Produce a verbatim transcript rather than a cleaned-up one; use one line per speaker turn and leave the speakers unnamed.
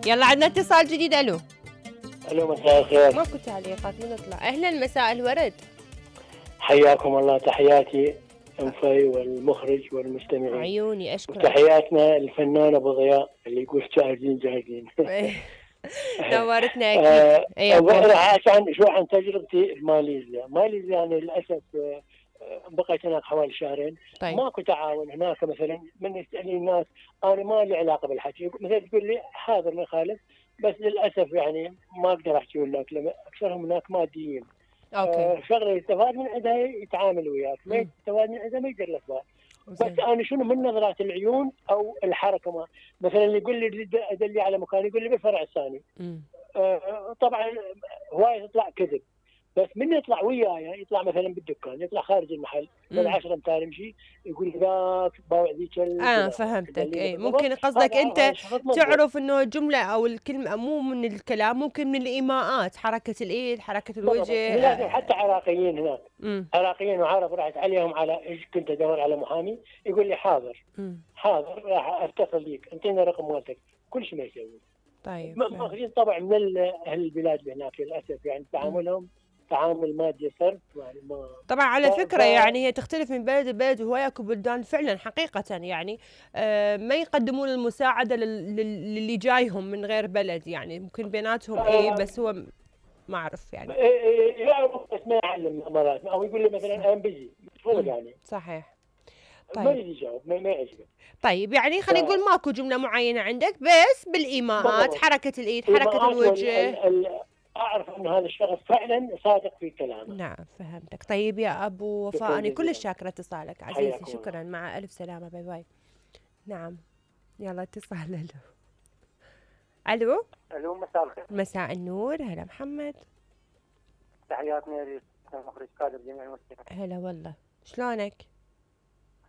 يلا عندنا اتصال جديد. الو
الو مساء الخير.
ماكو تعليقات نطلع. اهلا مساء الورد.
حياكم الله، تحياتي انفي والمخرج والمستمعين.
عيوني اشكرك.
وتحياتنا الفنان ابو ضياء اللي يقول جاهزين جاهزين.
نورتنا اكيد.
اي راح عشان شو عن تجربتي بماليزيا. ماليزيا يعني للاسف بقيت هناك حوالي شهرين.
طيب.
ماكو تعاون هناك. مثلا من يسالني الناس انا ما لي علاقه بالحكي، مثلا تقول لي حاضر ما يخالف، بس للاسف يعني ما اقدر احكي هناك لما اكثرهم هناك ماديين.
اوكي.
آه شغله يستفاد من عندها يتعامل وياك، ما يستفاد من عندها ما يقدر لك بال. بس انا شنو من نظرات العيون او الحركه، ما مثلا اللي يقول لي ادلي على مكان يقول لي بالفرع الثاني. آه طبعا هوايه تطلع كذب، بس من يطلع وياي يطلع مثلا بالدكان، يطلع خارج المحل بعد عشرة امتار يمشي يقول ذاك باوع ذيك.
اه فهمتك. اي ممكن قصدك انت تعرف انه الجمله او الكلمه مو من الكلام، ممكن من الايماءات، حركه الايد، حركه الوجه.
لازم حتى عراقيين هناك.
مم.
عراقيين وعرب رحت عليهم على ايش كنت ادور على محامي يقول لي حاضر. مم. حاضر راح اتصل بيك، انطيني رقم والدك، كل شيء ما يسوي.
طيب
ماخذين طبع من اهل البلاد اللي هناك للاسف، يعني تعاملهم تعامل مادي صرف يعني ما.
طبعا على فكره ف... يعني هي تختلف من بلد لبلد، وهيك بلدان فعلا حقيقه يعني آه ما يقدمون المساعده لل... للي جايهم من غير بلد، يعني ممكن بيناتهم آه ايه بس هو ما اعرف يعني
يعرف بس ما يعلم مرات، او يقول لي مثلا انا بيجي مفروض يعني.
صحيح.
طيب. ما يجاوب ما يعجبه.
طيب يعني خلينا نقول ف... ماكو جمله معينه عندك، بس بالايماءات، حركه الايد، حركه الوجه. ال... ال...
اعرف ان هذا الشخص فعلا صادق في كلامه.
نعم فهمتك. طيب يا ابو وفاء انا كلش شاكره اتصالك عزيزي. شكرا. مع الف سلامه. باي باي. نعم يلا اتصال. الو الو
الو مساء الخير.
مساء النور. هلا محمد.
تحياتنا للمخرج كادر جميع المستمعين.
هلا والله. شلونك؟